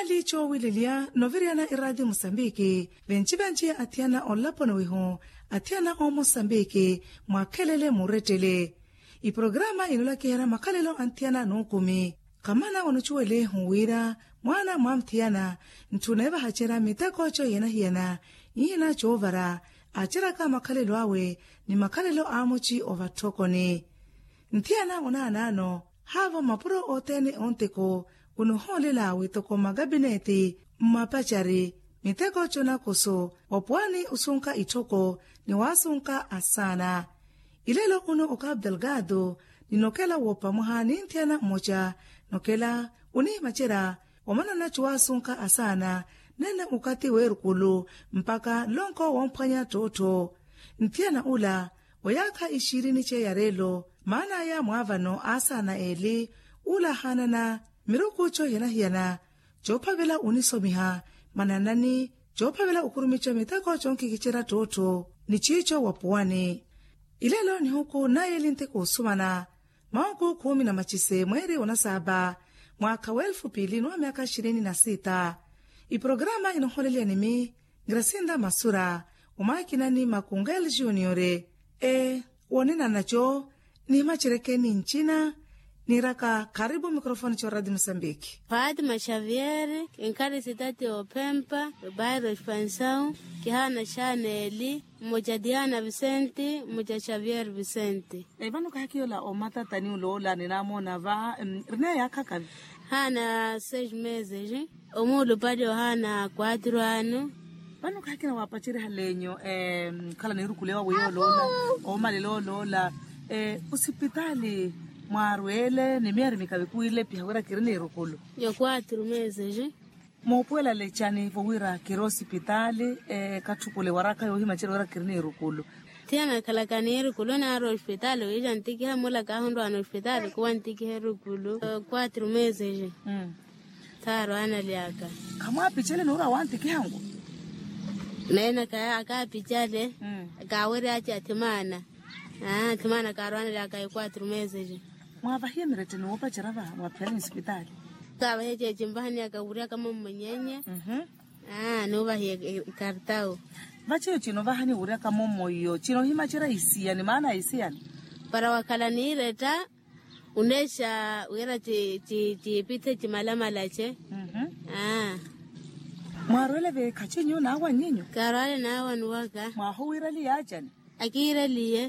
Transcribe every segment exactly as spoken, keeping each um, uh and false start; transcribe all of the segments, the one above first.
Liicho wililya noviriyana iraati musambiki. Venci-venci athiyana olaponi wihu, athiyana omosambiki, mwakhelele murettele. Iprograma inolakiherya makhalelo anthiyana nuukumi. Kamana onucuwele huwira mwana mwamuthiyana, ntthuna evahacerya miteko cohiyana-hiyana, ihina coovara, aceraka makhalelo awe ni makhalelo a muci ovatthokoni. Nthiyana onaanaano, haavo mapuro othene onteko, onuhoolela wi toko makapineti, mmapacari, miteko conakoso, wapuwani osunka itthoko, ni wasunka asaana. Ilelo uno okapu delgado, ninokela woopamuha ni nthiyana mmoca, nokela onihimacerya, wamanana cuwasunka asaana, nene okathi weerukulu, mpaka lonko womphwanya ttottho. Nthiyana ula, oyaakha ixirini ceya reelo, maan'aya mwaavano asaana eli, ula ahaanana, miruku cohiyana-hiyana, coophavela onisomiha, mananani, coophavela okurumica miteko conkikicerya ttottho, ni ciico wapuwani. Ilelo nihuku naye eli nteko osumana, mawuku kumi na macise mweeri onasaapa, mwaakha w'elfu piili n'uwa myaakha ixirini na sita. Iprograma inoholeliya nimi, grasinda masura, omaakinani makungel juniore. Ee, woonenana co, nihimaceryeke ni ncina, niiraka kharipu mikrofoni co radio mosambiki. Fatima xavier, kinkari sitati ophempa, bairo expansion, kihaana xaana eli, mmoca diana vicente, mmoca xavier vicente. Vano kahakiyola omatatani oloola ninamoona va, rina yakhakavi? Haana seis meses. Omuulupali ohaana quatro ano. Vano kahakina waapacerihale enyu khala niirukulu ewa weiya oloola, oomalela oloola, osipitaali mwaarweele ni miyari mikavi kuwilepiha wira kiri niirukulu? Yo quatro meses. Moopuwela lecani vo wira kiri osipitaali, katthukule waraka yoohimacerya wira kiri niirukulu? Thiyana khalaka niirukulu naari osipitaali wiica ntikiha mula kaahonrwaana osipitaali kuwa ntikiha erukulu. Quatro meses. Thaarwaana lyaka. Khamwaapicele nuura wantikihanku? Neena akaapicale. Kaaweryace athimaana. Athimaana kaarwaana lyaka ya quatro meses. Mwaavahiye miretteni woopacerya va mwaphiyani nsipitaali? Kaavahiye ceeci nvahaniyaka wuuryaka mommo nyenye. Nuuvahiye ikartawu. Vaceyo cino vahani wuuryaka mommo iyo cino ohimacerya isiyani maana isiyani? Para wakhala niiretta, uneexa wira ciipithe cimalamalace. Mwaarweele veekhaci nyu naawa nyinyu? Kaarwaale naawa nuwaka. Mwaahuwiiraliye acani? Akiireliye.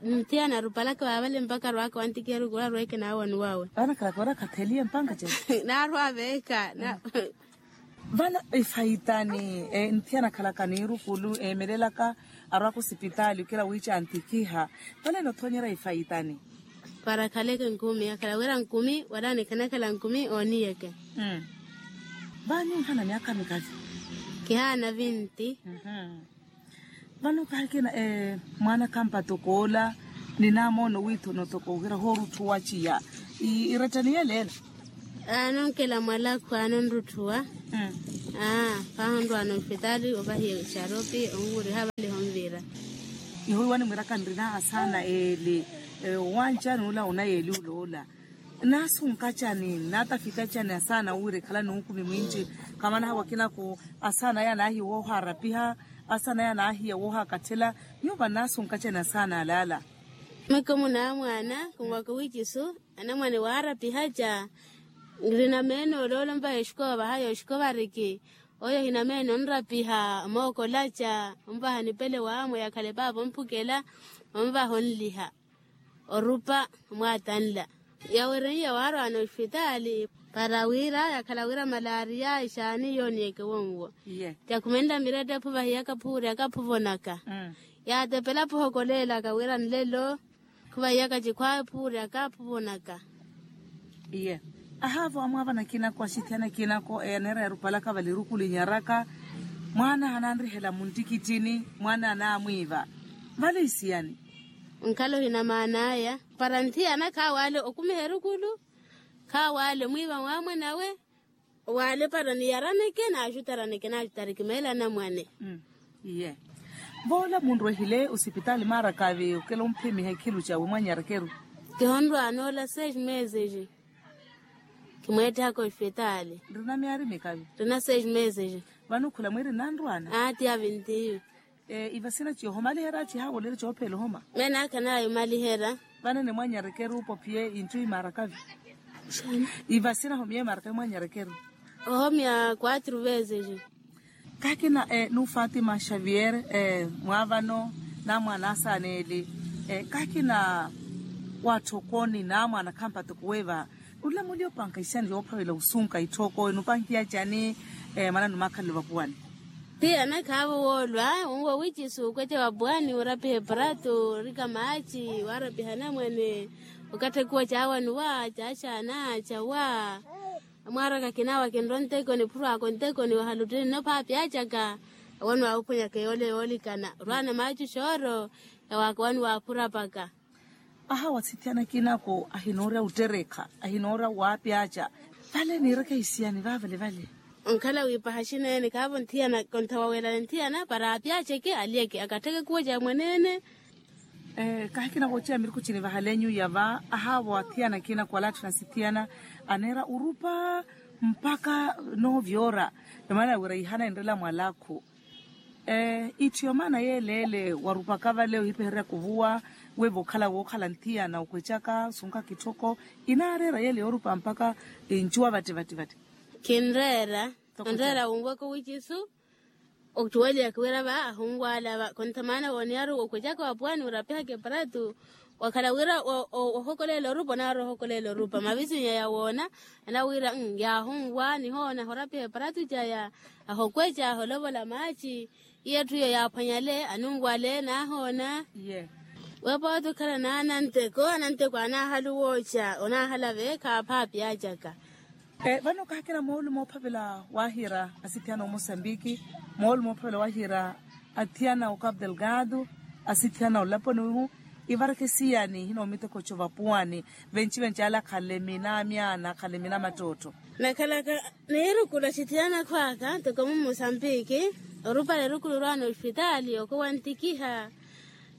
Nthiyana arupalaka vaavale mpaka arwaaka wantikiha erukulu arweeke naawa nuwawe. Vano khalaka wira khatheliye mpanka cene. Naarwa veeka. Vano ifaitani, nthiyana akhalaka niirukulu eemelelaka arwaka osipitaali okela wiica antikiha. Vano enothonyerya ifaitani? Para akhaleke nkumi akhala wira nkumi wala nikhanakhala nkumi ooniyeke. Vaanyu nhaana myaakha mikavi? Kihaana vinti. Vano kahikina mwaana khampa tokoola, ninamoona owiithono tokoohira hoorutthuwa ciya. Irettani yeleela? Aanonkela mwalakhu aanonrutthuwa. Aa, paahonrwaana osipitaali ovahiya exaropi onwuriha vale honvira. Iho iwani mwiraka nrina asaana eeli, owanca nuula onayeeli oloola. Naasunka cani naatafita cani asaana wira ekhala nuukumi mwinci? Khamanaha wakinako asaana aya anaahiya woohaarapiha, asaana aya anaahiya woohaakathela. Nyuwo vano naasunka cani asaana alaala? Meke munaamwaana khunwaka wiicisu. Anamwane waarapiha ca. Nrina meeno oloola ompaha exikowa vahayi oxikovariki. Oyo hina meeno onrapiha omookola ca ompaha nipele waamwe yakhale paapa omphukela. Ompaha onliha orupa omwaatanla. Yawereiya waarwaana osipitaali para wira yakhala wira malaria exaani yooniyeke wonwo. Yakhumenla miretta ephu vahiyaka phuuryaka phuvonaka. Yaatepela phuhokoleelaka wira nlelo khuvahiyaka cikhwaawe phuuryaka phuvonaka. Iye. Ahaavo amwaavana akinako axithiyana akinako eyaneera yarupalaka vale erukulu inyaraka. Mwaana hananrihela muntikittini. Mwaana anaamwiiva vale isiyani? Nkhala ohina maan'aya para nthiyana khaawaale okumiha erukulu. Khaawaale omwiiva mwaamwanawe. Waale para niyaraneke naaxutaraneke naaxutareke meelo anamwane. Iye. Voola munrwehile osipitaali maarakavi okela omphimiha ekhilu cawe mwanyarekeru? Kihonrwaana ola seis meses. Kimweettihaka ospitaali. Nrina myaari mikavi. Nrina seis meses. Vano khula mwiiri nnanrwaana. Aati avintiiwe. Ivasina ciyo homaliherya cihaawolerya coophela ohoma. Menaakha naayo omaliherya. Vano enimwanyarekeru opophiye inthu imaarakavi. Ivasina homiye imaarakavi mwanyarekeru. Ohomya quatro vezes. Kaakina nu fatima xavier, mwaavano namwaana asaana eli. Kaakina waatthokooni namwaana khampatoko weeva. Nlulamuli opanka ixani yoophavela osunka itthoko enupankiya cani? Mwaana numakhalelo vapuwani. Ti anakhaavo woolwa unwe wici suukweca vapuwani orapiha eparatu orika maaci warapiha anamwane. Okatthe kuwa caawanuwa caaxaana cawa. Amwaaraka kinawa kinronteko niphurwaka onteko niwahaluttini nno phaapi acaka. Awani waahuphwanyaka yoole yoolikana orwaana maaci xooro. Yawaaka wani waaphurapaka. Ahawa sithiyana kinako ahinoorya otterekha ahinoorya waapyaaca. Vale niireke hisiyani vaavale vale. Onkhala wiipaha xineene kaavo nthiyana konthawawelani nthiyana para aapyaaceke alyeke akattheke kuwo ca mwaneene. Kahikina wooceya mirikhu cinivahalenyu yava ahaavo athiyana kinako alaatthuna sithiyana aneera orupa mpakha noovyoora. Emaana wira ihana enrela mwalakhu. Itthu yomaana yeeleele warupaka vale ohipehereryaka ovuwa. Weevo okhala wookhala nthiyana okwecaka osunkaka itthoko inaareera yeele yoorupa mpakha ncuwa vatte vatte vatte. Kinreera. Onreera wunwaka owikisu. Ottuweliyaka wira va ahunwaala va konta maana wooniyari okwecaka wapuwani orapihaka eparatu. Wakhala wira wahokoleela orupa onaari ohokoleela orupa mavisinya yawoona. Anawiira yaahunwa nihoona ahorapiha eparatu caya. Ahokweca aholovola maaci. Iye etthu iyo yaaphwanyale anunwale naahoona. Weepa wootikhala naananteko ananteko anaahala owooca onaahala veekha phaapi acaka. Vano kaakina moolumo oophavela waahiira asithiyana omosambiki moolumo oophavela waahiira athiyana okapu delgado asithiyana olaponihu. Ivareke siyani hinoomitekoco vapuwani venci venci ale akhalemina amyaana akhalemina mattootto. Nakhalaka niirukulu axithiyana akhwaka toko mumosambiki. Orupale erukulu orwaana ospitaali okowantikiha.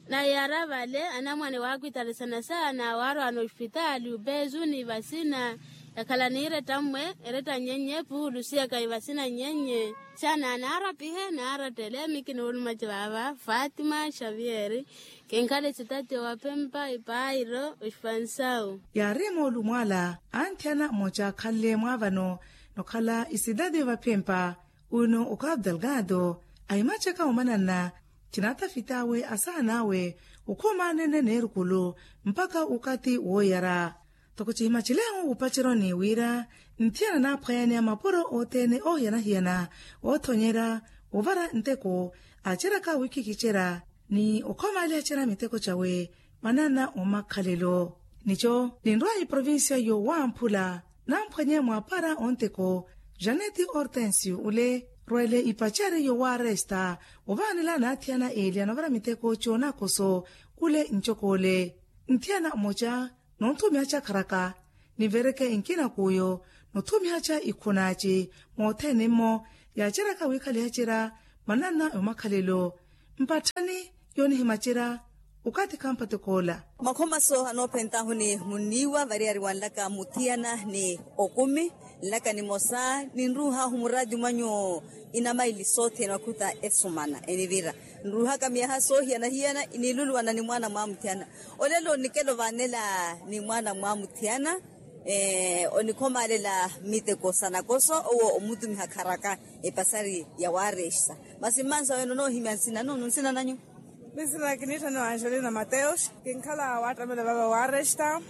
Nayaara vale anamwane waakwitarisana saana waarwaana ospitaali opeezuni vasina. Yakhala niiretta mmwe eretta nnyenye puulu siyaka ivasina nnyenye. Saana naarapihe naarattele miki noolumaci vaava fatima xavier. Kinkhala esitatiyo vaphempa epairo ospansau. Yaari moolumo ala anthiyana mmoca akhanle mwaavano nokhala esitatiyo vaphempa. Uno okapu delgado ahimacaka omananna. Cinaatafit'awe asaan'awe okhomaanene neerukulu mpakha okathi wooyara. Toko cihimacilehu wupaceroni wira nthiyana naaphwanyaniya mapuro othene oohiyana-hiyana oothonyerya ovara nteko aaceryaka wiikhikicerya ni okhomaalihacerya miteko cawe. Mwanana omakhalelo nico ninrwa iprovincia yowamphula namphwanye mwaapara onteko janeti hortensio ole rwele ipacari yowaresta ovaanela naathiyana eli anovara miteko coonakoso. Ole ncokole nthiyana mmoca nonthumihaca kharaka nivereke nkinakuyo nothumihaca ikhunaaci moothene-mmo yaaceryaka wiikhalihacerya mwananna yomakhalelo. Mpatthani yoonihimacerya okathi khampatokoola. Makhomaso anoophentahu ni munniiwa variyari wanlaka muthiyana ni okumi nlaka nimosa ninruuhahu muraati mwanyu inamaili soothene wakhuta esumana enivira nruuhaka miyaha soohiyana-hiyana niiluluwana ni mwaana mwamuthiyana. Olelo onikela ovanela ni mwaana mwamuthiyana onikhomaalela miteko sanakoso owo omutumiha kharaka epasari ya waresta. Masi mmansa wene onoohimya nsina nunu nsina nanyu? Ni nsina kiniittha ni angelina mateus kinkhala waattamela vava waresta.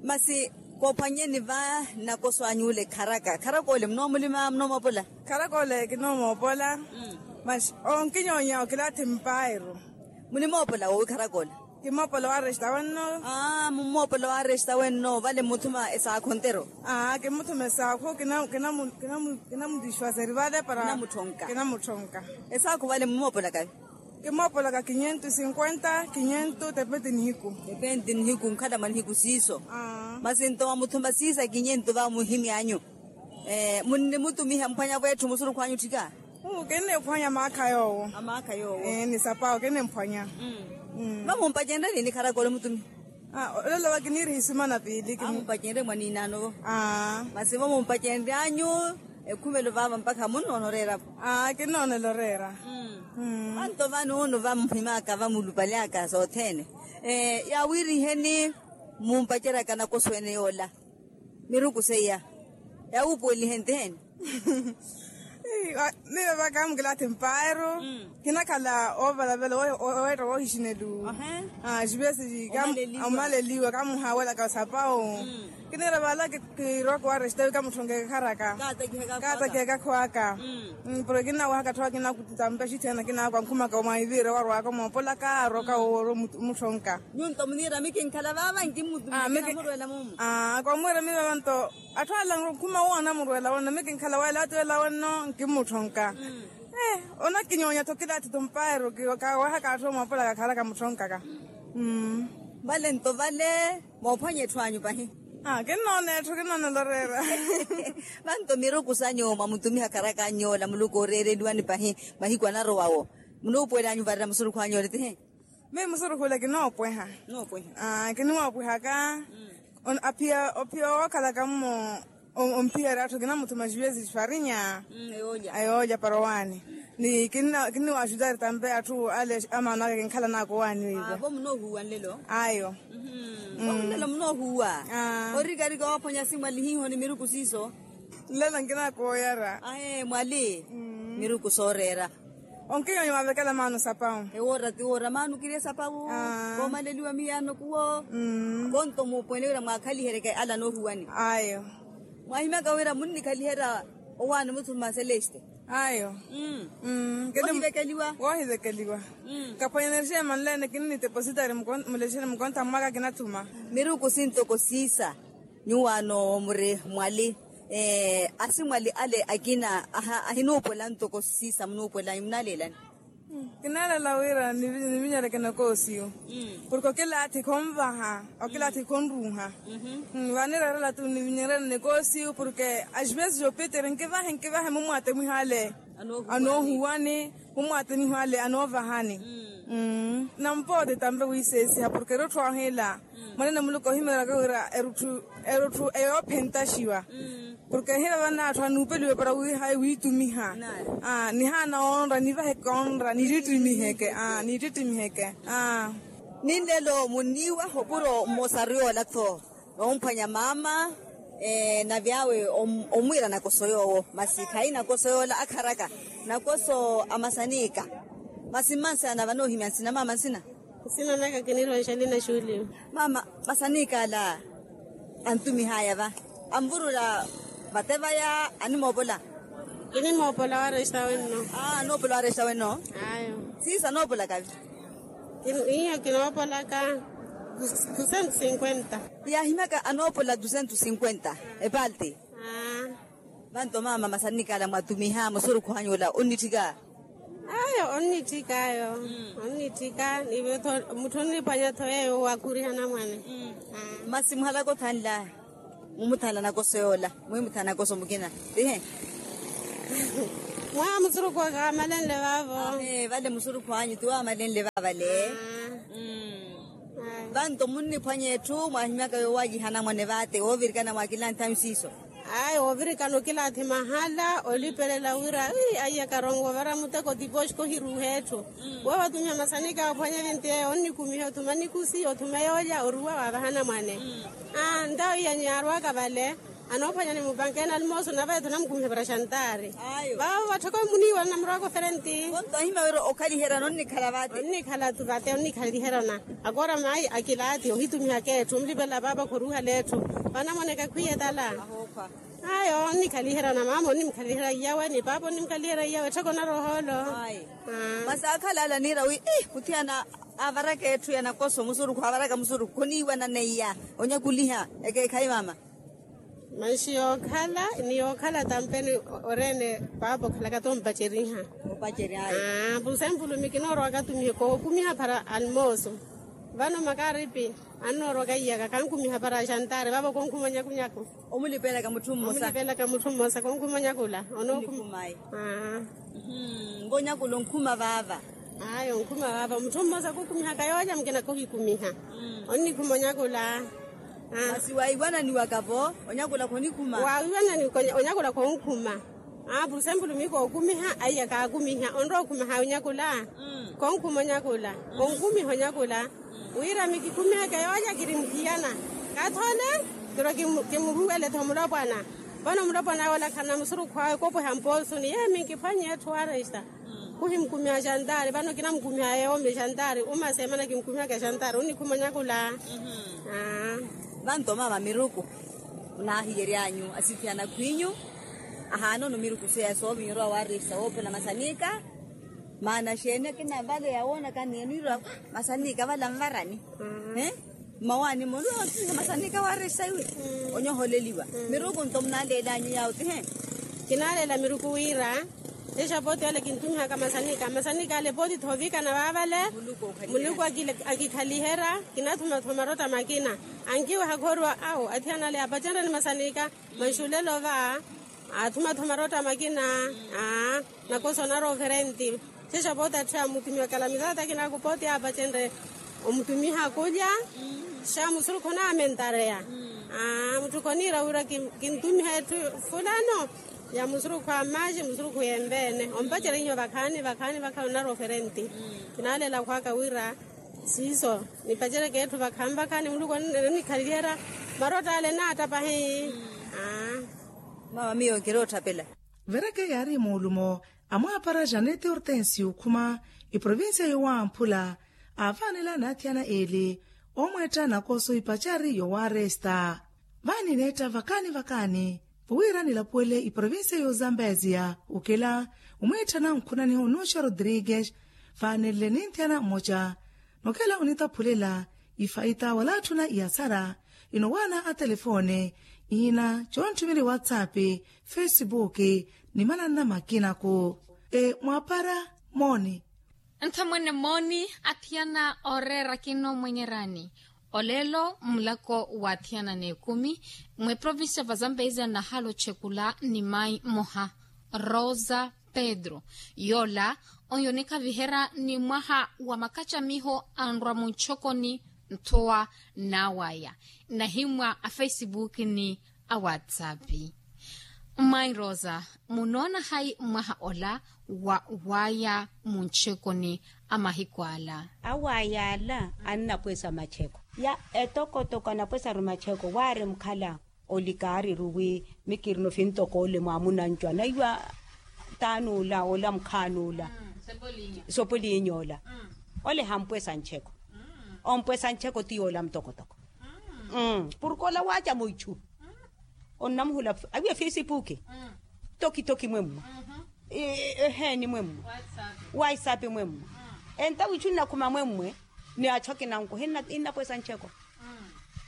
Masi koophwanyeni va nnakoso any'ule kharaka kharaka ole munoomulima munoomoopola? Kharaka ole kinoomoopola. Masi onkinyonya okilaathi mpairu. Munimoopola woowi kharaka ole? Kimoopola wa resta wenno. Aa mummoopola wa resta wenno vale mmuthuma esaakhu ontero? Aa kimmuthuma esaakhu kinamutiswaseri vale para kinamuthonka. Esaakhu vale mummoopolaka? Kimmoopolaka kinyentu sinkwenta kinyentu tepeti nihiku. Tepeti nihiku nkhala mwa nihiku siiso. Masi nto mwamuthuma siisa kinyentu va muhimyanyu. Munnimutumiha mphwanya vwetthu musurukhwanyu tthika? Kinniphwanya maakha yoowo. Amaakha yoowo. Ni sapaawo kinniphwanya. Vamumpacenrye ni kharakole mutumiha? Olelo va kiniiriha isimana piili. Amumpacenrye mwaninaano vo. Masi vo mumpacenryanyu ekhumelo vaava mpakha munnoona oreera vo. Kinnoonela oreera. Vanto vano ono vamuhimaka vamulupalyaka sothene. Yaawiiriheni mumpaceryaka nakoso ene yoola miruku seiya yawuupuwelihe ntiheni. Miyo va kamukilathi mpaaru. Kinakhala oovalavela oweetta woohixinelu. Xivesi kamumaleliwa kamuhaawelaka sapawu. Kiniira vala kirowaka waresta wi kamutthonkeke kharaka. Kaatakihaka khwaka. Porke kinnawahaka tthowaka kinakutampa xithena kinaku ankhumaka omwahiviire warowaka omoopolaka arowaka woomutthonkaka. Nyunto muniira mikinkhala vaava nkimmutumikira murwela mumu. Kwamwiira miyo vanto atthu ala nkhuma woona murwela wenno mikinkhala wela ati wela wenno nkimmutthonkaka. Onakinyoonya-tho kilathi-tho mpaero. Kawahaka atthu omoopolaka kharaka mutthonkaka. Vale nto vale moophwanya etthu anyu pahi. Kinnoona etthu kinnoonela oreera. Vanto miruku sanyu mwamutumiha kharaka anyu yoola muluku ooreereliwani pahi mahiku anarowawo munuupuwela anyu varela musurukhu anyu yoola tihi. Miyo musurukhu ole kinoopweha. Kinoopweha. Kinimoopwehaka. Aphiya ophiya wookhalaka mmo omphiyari atthu kinamuthuma xivesi xifarinya. Ayoolya para owaani. Ni kinniwaxutari tampe atthu ale amaano aka kinkhalanaka owaani weiva. Vo munoohuwa nlelo. Ayo. Vo nlelo munoohuwa. Orikarika waphwanya simwali hiiho ni miruku siiso. Nlelo nkinaka oyara. Ahe mwali. Miruku sooreera. Onkinyonyo waavekela maano sapawu. Ewoora ti woora maano kiri esapawu. Koomaleliwa miyaano kuwo. Konto muupuwele wira mwaakhaliheryeke ala anoohuwani. Ayo. Mwaahimyaka wira munnikhaliherya owaani muthuma celeste. Ayo. Woohivekeliwa. Woohivekeliwa. Kaphwanyanerexe manleene kinnitepositari mulexere mukonta mwaka kinathuma. Miruku sintoko siisa. Nyuwaano muri mwali asimwali ale akina ahinuupola ntoko siisa munuupola munaleelani. Kinaleela wira nivinyereke nokoosiyu. Porke okilaathi khonvaha okilaathi khonruuha. Vaanireerela tu nivinyereke nokoosiyu porke axivesi xoopitere nkivahe nkivahe mumwaate mwihaale. Anoohuwani mumwaate mwihaale anoovahani. Nampoote tampe wiiseesiha porke erutthu ahila. Mwanene muluku ohimeryaka wira erutthu erutthu eyoophentaxiwa. Porke ehira vana atthu anuupeliwe para wiihayi wiitumiha. Nihaana onra nivaheke onra nitittimiheke. Nitittimiheke. Ninlelo muniiwaha opuro mmosaru yoola-tho. Noomphwanya maama na vyaawe omwiira nakoso yoowo masi khayi nakoso yoola akharaka. Nakoso a masanika. Masi mmansi ana vanoohimya nsina maama nsina. Nsina naka kinirowa nxalina xuuliwa. Maama masanikala antumihaya va anvurula vate vaya animoopola. Kinimoopola waresta wenno. Anoopola waresta wenno. Ayo. Siisa anoopolaka vi. Iyo kinoopolaka dusentu sinkwenta. Yaahimyaka anoopola dusentu sinkwenta epalti. Vanto maama masanikala mwatumiha musurukhu anyu ola onnitthika. Ayo onnitthika ayo. Onnitthika nive-tho mutthu onniphwanya-tho yeeyo wakhuriha anamwane. Masi muhalaka othanla mumuthanla nakoso yoola mwiimuthanla nakoso mukina. Tihe. Mwaa musurukhu waka wamalenle vaavo. Vale musurukhu anyu ti wamalenle vaavale. Vanto munniphwanya etthu mwaahimyaka yoowajiha anamwane vaate woovirikana mwaakilanthanyu siiso. Ayi woovirikana okilaathi mahala olipelela wira aiyaka arongo ovara muteko tipoxiko ohiruuha etthu. Woovatumya masanika ophwanya vinti eyo onnikumiha othuma nikusi othuma yoolya oruwa waavaha anamwane. Ntawo iya nyarwaka vale anoophwanya ni mupankeene almooso nave etthu namukumiha para xantaari. Vaavo vatthoko muniiwa namurwaka oferenti. Konto ahima wira okhaliherya nonnikhala vate. Onnikhala vate onnikhaliherya ona. Akoora mayi akilaathi ohitumihaka etthu onlipela paapa khuruuhala etthu. Vanamoneka khwiya etala. Ayo onnikhaliherya ona maama onnimkhaliherya iyawe ni paapa onnimkhaliherya iyawe ettheko onarwa ohoolo. Masi akhala ala niira wi ih khuthiyana avaraka etthu ya nakoso musurukhu avaraka musurukhu khoniiwananeiya onyakuliha ekeekhayi maama. Manxi yookhala ni yookhala tampeni oreene paapa okhalaka tompaceriha. Purusempulu mikina orowaka tumihe kookumiha para almooso. Vano makaripi annoorowaka iyaka kankumiha para axantaari vaavo konkhuma onyakunyaku. Omulipelaka mutthu mmosa. Omulipelaka mutthu mmosa konkhuma onyakula onookhuma. Nvo onyakula onkhuma vaava. Ayo nkhuma vava mutthu mmosa khukhumihaka yoolya mukina khuhikhumiha. Onnikhuma onyakula. Masi waiwananiwaka-vo onyakula khonikhuma. Waiwanani onyakula khonkhuma. Aa purusempulu mii kookumiha aiya kaakumiha onrowa okhumaha onyakula. Khonkhuma onyakula. Onkhumiha onyakula. Wira mikikhumihaka yoolya kiri muthiyana. Kathole kiro kimuruwele-tho mulopwana. Vano mulopwana yoola khana musurukhu awe kopweha mpoosuni yee minkiphwanyiye etthu waresta. Khuhimkhumiha xantari vano kinamkhumiha yoome xantari uma seemana kimkhumihaka xantari onnikhuma onyakula. Vanto mama miruku. Onaahiyery'anyu asithiyana khwinyu. Ahaana onumiruku seya soovinyerwa waresta woophela masanika. Maana xeeni akina vale yawoonaka ni eniirwa masanika vale anvarani. Mmawaani muluwa otthiha masanika waresta iwe. Onyoholeliwa miruku nto munaleel'anyu yaawo tihe. Kinaleela miruku wira. Tixa pooti ale kintumihaka masanika masanika ale pooti thoovikana vaavale. Muluku akikhaliherya. Kinathumathumarotta makina ankiweha khooriwa awo athiyana ale apacenreni masanika. Mwa nxulelo va athumathumarotta makina. Nakosa onarwa oferenti. Tixa pooti atthu amutumiwa kalamizata kinaku pooti apacenre. Omutumiha kulya xa musurukhu onaamentareya. Mutthu khoniira wira kintumiha etthu fulano. Ya musurukhu a mmaxi musurukhu yenveene ompacerihiwa vakhaani vakhaani vakhaani onarwa oferenti. Kinaalela khwaka wira siiso nipacereke etthu vakhaani vakhaani muluku onikhaliyerya. Marotta ale naattapahi. Mama miyo nkiroottapela. Vereke yaari muulumo amwaapara janete hortensio okhuma eprovincia yowamphula. Aavanela n'athiyana eeli omweetta nakoso ipacari yowaresta. Vaanineetta vakaani vakaani. Vowira nilapuwele iprovincia yozambeziya okela omwiitthana onkhunaniha onuxo rodrigues. Vaanenle ninthiyana mmoca nokela onitaphulela ifaita wala atthuna iyasara. Inowaana atelefoone iina coontthumelye whatsapp, facebook ni mananna makinaku. Mwaapara mooni. Nthamwene mooni athiyana ooreera kinoomwenyerani. Olelo mmulako wa athiyana n'ekumi mweprovincia va zambezia nahala ochekula ni mayi mmoha rosa pedro. Yoola oyo onikhaviherya ni mwaha wa makacamiho anrwa muntxokoni nthowa n'awaya. Nahimmwa a facebook ni a whatsapp. Mmayi rosa munoona hayi mwaha ola wa waya muntxekoni a mahiku ala? Awaya ala annapwesa matxeko ya etokotoko anapwesaru matxeko waari mukhala. Olikaariru wi mikirina ofintokole mwamunancu anaiwa taani ola ola mukhaani ola. Sopoliinyi ola ole hampwesa ntxeko. Ompwesa ntxeko ti yoola mutokotoko. Purke ola waaca muichu onnamuhula awiya fesipuki. Tokitoki mwemmwe eheeni mwemmwe. Waisapi mwemmwe enta wichu nnakhuma mwemmwe. Ni achu akinanku hinnapwesa ntxeko.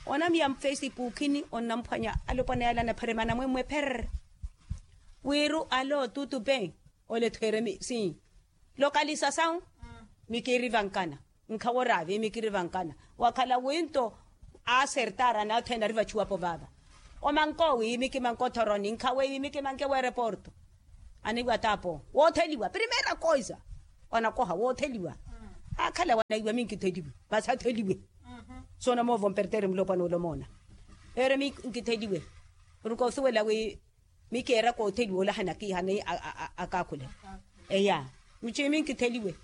Onamiya mfesipuki ni onnamphwanya alopwana yala anapheremana mwemmwe pherr. Wiiru alo tutupe ole thweeremi si lokalisasawu. Mikiri vankana nkhawo raavi mikiri vankana wakhala winto. Asertara nathena rivachuwapo vava omanko wiimi kimanko thoroni nkhawe wiimi kimanke wereporto. Aniwatapo wootheliwa primera koisa wanakoha wootheliwa. Akhala wanaiwa minkitheliwe vasatheliwe. Soona moovo mpertere mulopwana olomoona ere minkitheliwe. Rukosiwela wi mikeera kootheliwa olahana kihana akakhule. Eya muchimi nkitheliwe.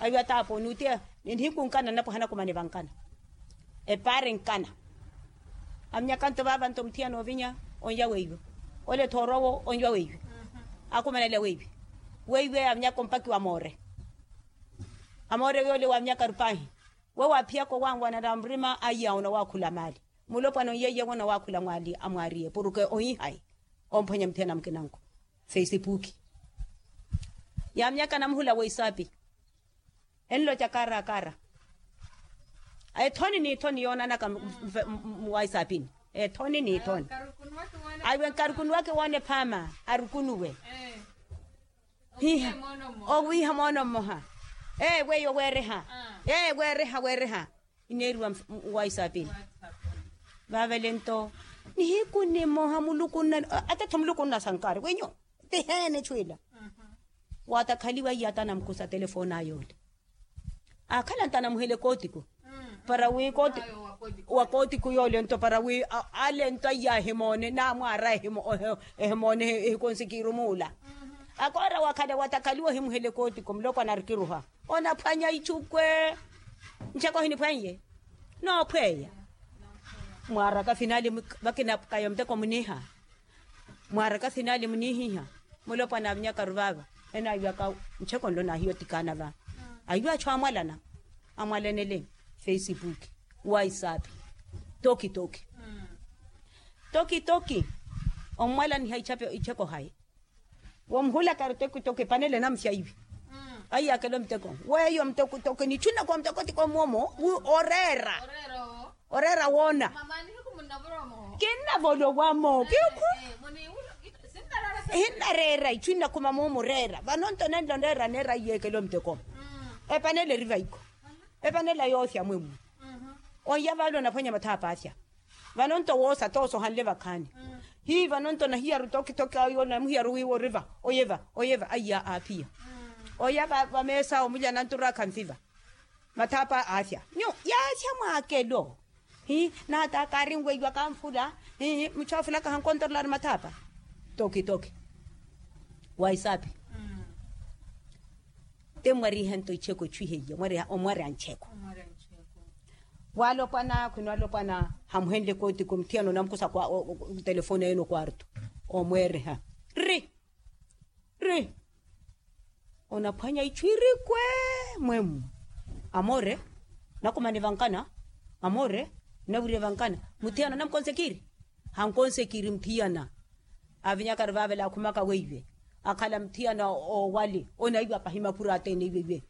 Ayo ataapo nuti nihiku nkana nnapo hanakumane vankana. Epaari nkana amnyaka nto vaava nto muthiyana ovinya onya weiwe. Ole thoorowo onya weiwe. Akumanela weiwe weiwe amnyaka ompakiwa amoore. Amoore weyo ole wamnyaka rupahi. Wewo aphiyaka owanwanana murima aiya onawaakhula maali. Mulopwana onyeiyewona waakhula mwaali amwaariye puruke ohihayi. Omphwanya muthiyana mukinanko fesipuki. Yaamyaka namuhula weisapi enloca karakara. Ethoni n'ithoni yoonanaka muwaisapini ethoni n'ithoni. Aiwe nkarukunuwake woone phaama arukunuwe. Hiha owiiha moono mmoha. Ee weiyo weereha. Ee weereha weereha. Ineeriwa waisaapini. Vaavele nto nihiku nimoha muluku nna atatho muluku nna sankari wenyu. Tiheene echwiila. Waatakhaliwa iye atanamkusa telefooni ayoole. Aakhala nto anamuhela ekootiku para wi kootiku wa kootiku yoole nto para wi ale nto aiya ahimoone namwaara ehimoone ehikonsikiru muula. Akoora wakhale watakhaliwa ohimuhela ekootiku mulopwana arikiruha onaphwanya ichukwe. Ncheko ohiniphwanye noophweya mwaaraka finali vakinapukaya omuteko muniiha. Mwaaraka finali muniihiha mulopwana avinyakaru vaava enaiwaka ncheko nlo naahiya otikaana va. Aiwa achu amwalana amwalanele facebook whatsapp toki toki toki toki. Omwalaniha icheko hayi womuhulaka ari toki toki epanele namusyaiwi. Aiyakela omuteko weyo muteko toki nichunnaku wa muteko tiko mwomo oreera oreera woona. Kinnavolowa mo kiukhu hinnareera ichu innakhuma moomureera vano nto nenlo neera neera aiyekela omutekoma. Epanela eri vaiko epanela yoosya mwemmu. Onya vale onaphwanya mathaapa asya vano nto woosa toosohanle vakhaani. Hii vano nto nahiyaru toki toki ayo namuhiyaru wiiwa oriva oyeva oyeva aiya aaphiya. Oya vameesa omulya nanturaka nfiva mathaapa aasya nyu yaasya mwaakelo. Hi naata kaarinweiwa kanfula hi muchu afulaka hankontorolari mathaapa. Toki toki waisapi. Te mwariha nto icheko ichwiheya mwariha omwariha ncheko. Waalopwana khwino alopwana hamuhenle kootiku muthiyana onamkusa telefoni ene okwarto omweereha ri ri onaphwanya ichwirikwe mwemu. Amore nakumane vankana amore nawirye vankana muthiyana onamkonsekiri hankonsekiri muthiyana. Avinyakari vaavela akhumaka weiwe akhala muthiyana owali onaiwa pahi maphura atene iweiwe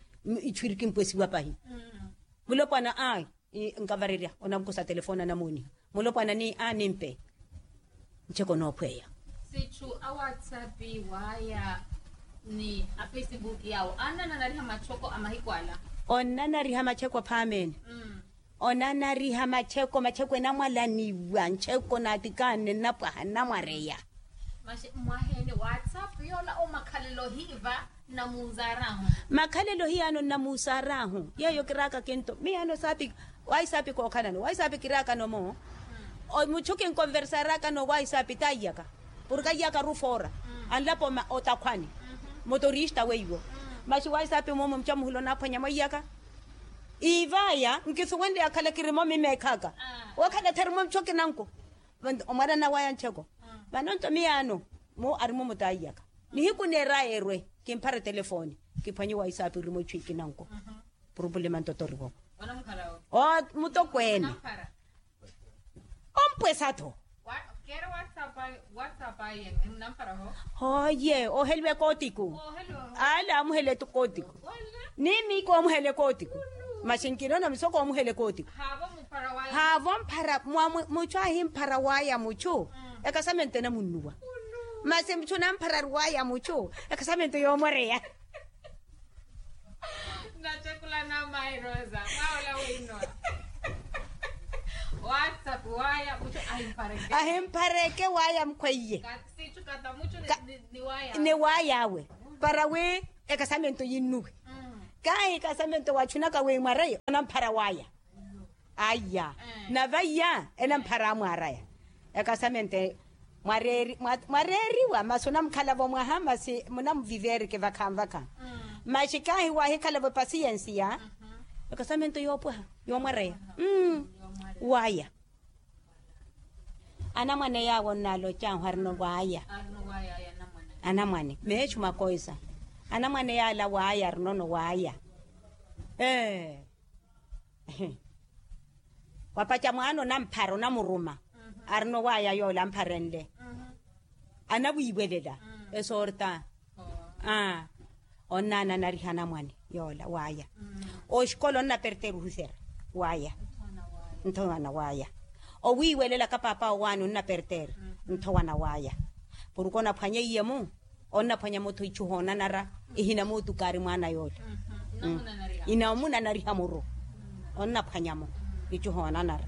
ichwiriki mpwesiwa pahi. Mulopwana ai nkavarerya onamkusa telefoni anamooniha mulopwana ni animpe. Ncheko noophweya sichu a whatsapp waya ni a facebook yawo anananariha machoko a mahiku ala. Onanariha macheko phaamene onanariha macheko macheko enamwalaniwa ncheko naatikaanne nnapwaha nnamwareya. Masi mwaheene whatsapp yoola omakhalelo hiiva nnamuuzaarahu. Makhalelo hiyaano nnamuuzaarahu yeeyo kiraaka kinto miyaano saapi. Waisapi kookhalano waisapi kiraakano moo muchu kinkonversaraakano waisapi taiyaka porke aiyaka rufoora anlapo otakhwani motorista weiwo. Masi waisapi moomo muchu amuhula onaaphwanya mwaiyaka iivaya nkisuwenle akhala kirimo mimeekhaka wakhala therimo muchu akinanko. Omwarana waya ncheko vano nto miyaano mu arimo mutaiyaka nihiku neeraya erwe kimphara etelefoni kiphwanye waisapi orimo ichwiiki nanko. Purupulima ntotoriwo mutokweene ompwesa-tho. Hoye oheliwa ekootiku ale amuhela ekootiku ni miiko omuhela ekootiku. Masi nkinoona musoko omuhela ekootiku haavo mphara muchu ahimphara waya muchu ekasamento enamunnuwa. Masi muchu namphara ari waya muchu ekasamento yoomwereya. Nachekhula namayi rosa mwawola wino whatsapp waya muchu ahimphareke waya mukhweiye. Ni waya awe para wi ekasamento yinnuwe. Kahi ekasamento wachunaka wi mwareye onamphara waya. Aya nave iya enamphara amwaaraya. Ekasamente mwareeriwa masi onamukhalavo mwaha masi munamuviverike vakhanvakha. Masi kahi wahikhalavo epasiyensiya ekasamente yoopwaha yoomwareya. Waya anamwane yaawo nnalocahu arino waya anamwane meechu makoisa anamwane yaala waya arinono waya. Ee wapaca mwaana onamphara onamuruma arino waya yoola ampharenle anawiiwelela esorta. Onnaananariha anamwane yoola waya oxikola onnapertera ohuserya waya nthowana waya owiiwelelaka paapa owaani onnapertera nthowana waya. Porke onaphwanya iye-mu onnaphwanya-mo-tho ichu hoonanara ihinamootukaari mwaana yoola inamunanariha muru onnaphwanya-mo ichu hoonanara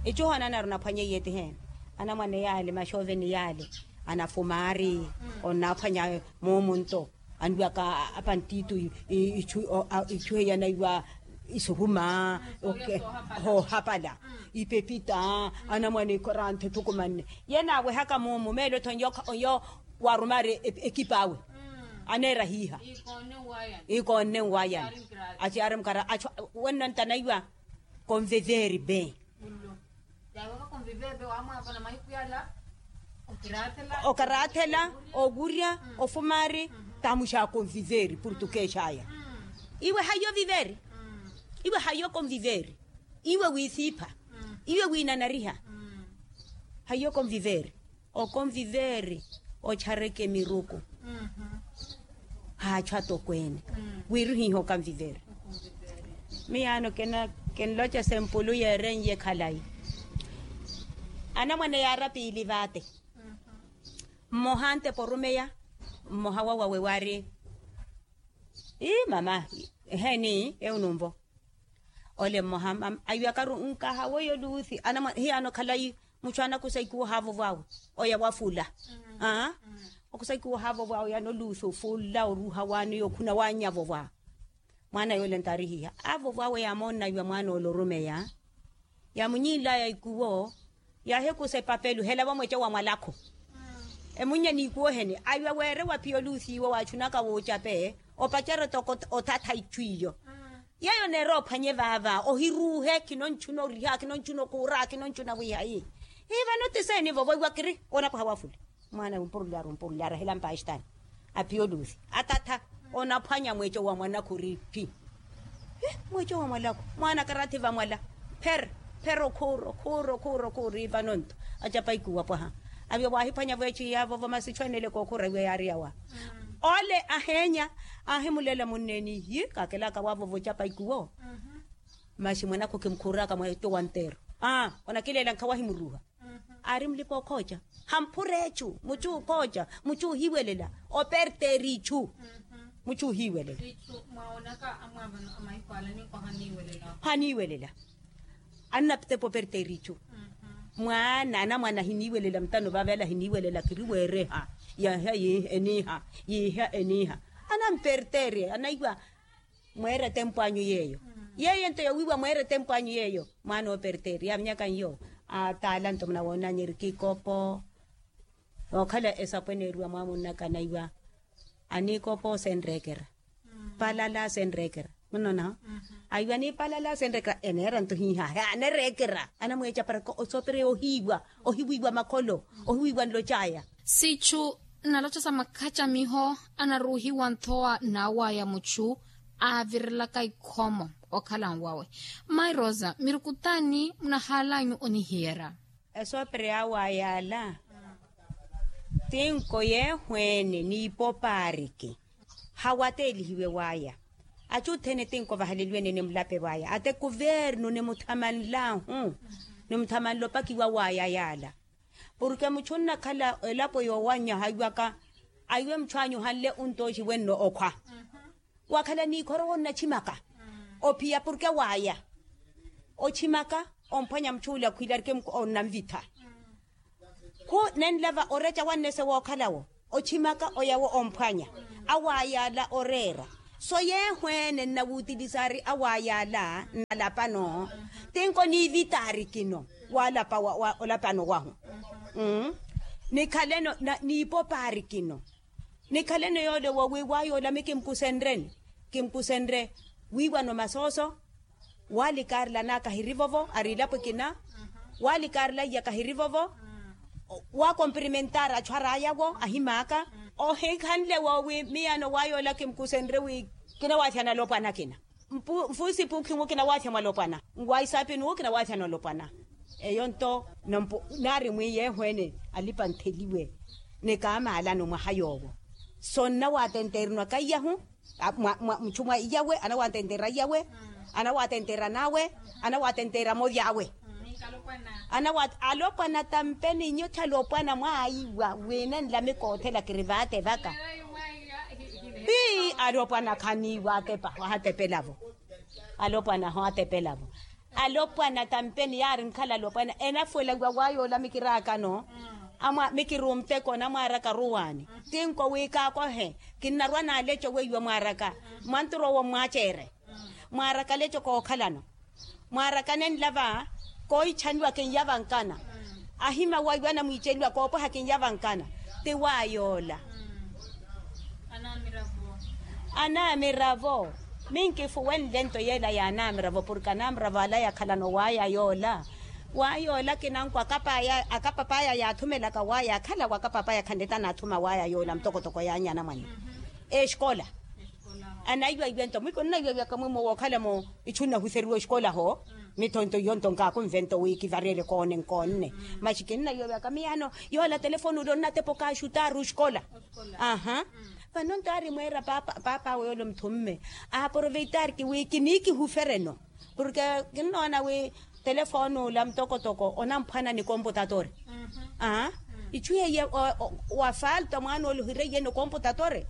ichu hoonanara onaphwanya iye ti heena. Anamwane yaale maxooveni yaale anafumaari onnaaphwanya moomunto anwaka apantiitu ichu heyanaiwa Isuhuma, hoohapala, ipepita, anamwane ikoranthe ethukumanne. Ye naawehaka muumu meelo-tho nyo waarumari ekip'awe, aneera hiiha, ikoonne nwaayani, aciyaari mukara achu, wenno ntanaiwa konviveri be. Okaraathela, okurya, ofumari, tamuxaakonviveri portukeex'aya. Iwe hayo viveri, iwe hayo konviveri, iwe wiisiipha, iwe wiinanariha. Hayo konviveri, okonviveri, ochareke miruku, haachu atokweene, wiiruhiha okonviveri. Miyaano kinloca sempulu yeeren'ye khalayi. Anamwane yaara piili vaate, mmoha antepa orumeya, mmoha wawawe waari, ii mama, eheeni ewu nunvo. Ole mmoha aiwakaru nkaha weiyo luuthi anamwane hiyaano khalayi, muchu anakusa ikuwo ohaavovw'awe, oya wafula. Aa, okusa ikuwo ohaavovw'awe yaani oluuthi ofula oruha waani okhuna waanyavovwa. Mwaana yoole ntaarihiha aavovw'awe yaamoonna iwa mwaana ole orumeya, yaamunyinl'aya ikuwo, yaahikusa epapelu hela vamweca wa mwalakhu. Emunnya n'ikuwo ohene aiwa weere wa phiya oluuthi iwo waachunaka woocape, opacerya toko othatha ichu iyo. Yeeyo oneera ophwanye vaava ohiruuhe khinontchuna oriha khinontchuna okuura khinontchuna wiiha ii, hii vano ti seeni vovo iwa kiri onapwaha wafula. Mwaana ompuruly'aru ompuruly'aru ahilampa axitaani, aphiya oluuthi atatha, onaphwanya mweeco wa mwanakhu ori phi? Mweeco wa mwalakhu mwaana karathi vamwala, pher pher okhuura okhuura okhuura okhuura ii vano nto acapa ikuwo apwaha. Avyo waahiphwanya-vo echi yaavovo masi ichu eneleke okhuura iwe yaari yawa. Ole aheenya, aahimulela munneeni yi kaakelaka waavovo ocapa ikuwo. Masi mwanakhu khimukhuuraka mweeco wa nteero. Aa, onakileela nkhawahimuruuha. Aari mulipa okhooca, hamphura echu muchu okhooca, muchu ohiwelela, operteeri ichu. Muchu ohiwelela. Haniiwelela. Annatepa operteeri ichu. Mwaana anamwane ahiniiwelela mutano vaavela ahiniiwelela khiri weereha, yiiha eniiha, yiiha eniiha. Anamperteeri anaiwa, mweera etempu anyu yeeyo. Yeeyo nto yowiiwa mweera etempu anyu yeeyo. Mwaana ooperteeri yaavinyaka nyo, ataala nto munawoonanyi eriki ikopo, ookhala esapweneeriwa mwamunnaka anaiwa, aniikopo senreekera, palala senreekera. Munnonaho? Aiwa aniipalala senreekera eneera nto hiiha he anereekera anamweecaparaka osoopereya ohiiwa, ohiwiiwa makholo, ohiwiiwa nloc'aya. Sichu nnaloca sa makhacamiho anaruuhiwa nthowa naaw'aya muchu aavirelaka ikhomo okhala nwawe. Mmayi rosa miruku t'ani munahaalanyu onihiyerya? Esoopereya aw'aya ala, tinko yeehweene n'ipopaariki hawateelihiwe w'aya. Achu othene tinko vahaleliwe nene mulape v'aya ate kuvernu nimuthamanlahu, nimuthamanla opakiwa w'aya yaala. Porke muchu onnakhala elapo yoowanyaha aiwaka, aiwe muchu anyu ohanle ontooxi wenno okhwa, wakhala n'ikhoro wonnachimaka ophiya porke w'aya, ochimaka omphwanya muchu ole akhwiilarike onnanvitha. Khu nenlava oreca wannese wookhalawo, ochimaka oyawo omphwanya aw'aya ala oreera. So yeehweene nnawuutilisaari aw'aya ala nnalapano, tinko niivitaari kino walapa olapano wahu. Nikhaleno n'ipopaari kino, nikhaleno yoole woowiiwa yoola mi kimkusenreni, kimkusenre wiiwano masooso. Walikaarila anaka ahirivovo ari ilapo ekina, walikaarila iyaka ahirivovo, wakompirimentari achu ar'aya-wo ahimaaka. Ohinkhanle woowi miyaano w'aya ola kimkusenre wi kinawaathya nalopwana akina. Mfuusipu khinwu kinawaathya mwalopwana, nwaisaapi nuwo kinawaathya nalopwana. Eyo nto nampu naari mwi yeehweene alipa ntheliwe, ni kaamaalano mwaha yoowo. So nnawaatenteerinwaka iyahu, muchu mwa iyawe anawaatenteera iyawe, anawaatenteera an'awe, anawaatenteera moly'awe. Alopwana tampeni nyo thalopwana mwaiwa wina nlamika othela kiri vaate vaka. Hii alopwana khaniiwa atepa wahatepela-vo. Alopwana aho atepela-vo. Alopwana tampeni yaari nkhala alopwana enafuwela wiwa waya ola mikiraakano. Mikiri omuteko namwaaraka ruwaani. Tinko wi kaakohe kinnarwa naaleco weiwa mwaaraka, mwantura owo mmwaceere. Mwaaraka leco kookhalano, mwaarakane nlava kooichaniwa kinyavankana. Ahima waiwana mwiiceliwa koopweha kinyavankana. Ti waayoola. Anaamiravo. Minkifuwenle nto yeela ya anaamiravo porke anaamiravo ala yakhalano waaya yoola. Waaya yoola kinankwa akapapaya yaathumelaka waaya akhala wa akapapaya khanleta anaathuma waaya yoola mutokotoko yaanyi anamwane. Exikola. Anaiwaiwe nto mwiko nnaiwaiwaka mwimo wookhala-mo. Ichu nnahuseriwa exikola ho. Mitho nto iyo nto nkaakunve nto wi kivareele koone nkoonne. Maxi kinnaiwaiwaka miyano yoola telefoni ule onnatepa okaaxutaari oxikola. Aha. Vano nto aari mweera paap'awe yoola omuthumme aaproveitaari kiwi kiniikihufereno. Porke kinnoona wi telefooni ola mutokotoko onamphwana ni komputatori. Aa. Ichu yeiye wa falta mwaana ole ohireiyeni okomputatori.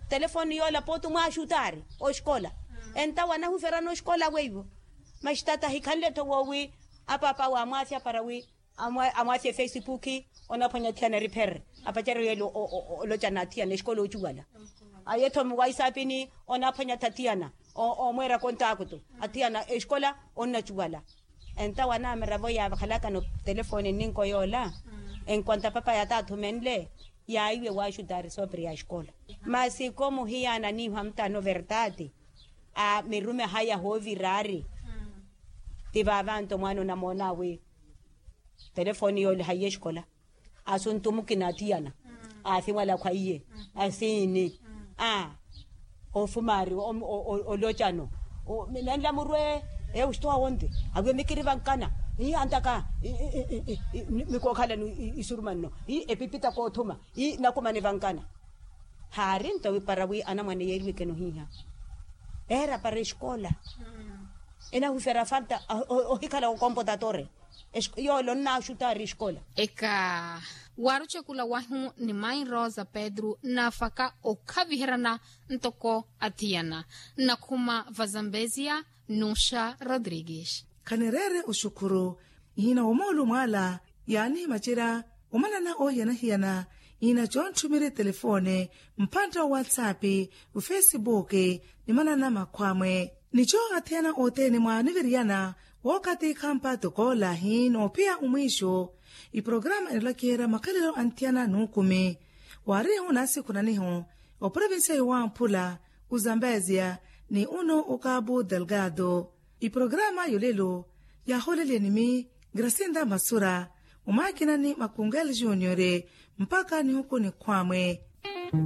Telefooni yoola pooti omwaaxutaari oxikola. Entawo anahuferana oxikola weiwo. Maxi tata ahikhanle-tho woowi apaap'awe amwaasya para wi amwaasye efesipuki. Onaphwanya athiyana eripherere apacerya yeela olocana athiyana exikola oocuwala. Aye-tho muwaisapini onaphwanya-tho athiyana omweera kontaakto athiyana exikola onnacuwala. Entawo anaamiravo yaavakhalakano telefooni nninko yoola. Enkwanta papaya taathumenle yaiwe waaxutaari soopiri ya exikola. Masi komuhiyaana niiho amutano vertati. Mirume haya hooviraari. Ti vaavanto mwaana onamoona wi telefooni yoole haiye exikola. Asuntu mukina atiyana aasimwala khwaiye asiini. Aa. Ofumaari olocano nenla murwe eusto awonte awiwe mikirivankana. Antaka mikookhalani isurumanno epipita koothuma nakumanivankana. Haari nto wi para wi anamwane yeeriwekeni ohiiha. Eera para exikola enahuferya falta ohikhala okomputatori. Yoola onnaaxutaari exikola. Eka waarucekula wahu ni mai rosa pedru naafaka okhaviheryana ntoko athiyana. Nnakhuma vazambezia nuxa rodrigues. Khanireere oxukhuru ihina womoolu mwaala yaanihimacerya omanana oohiyana-hiyana. Ihina coontthumerye telefoone mphantta wa whatsapp ofesibuuki ni manana makhwamwe. Nico athiyana othene mwaaniviriyana wookathi khampa tokolahi noophiya omwiixo. Iporokaramu enolakiherya makhalelo anthiyana nuukumi. Waarihu naasikhunanihu oprovincia yowamphula ozambezia ni uno okabu delgado. Iporokaramu yolelo yaaholeleni mi gracinda masura omwakinani makungel junior mpakha nihuku nikhwamwe.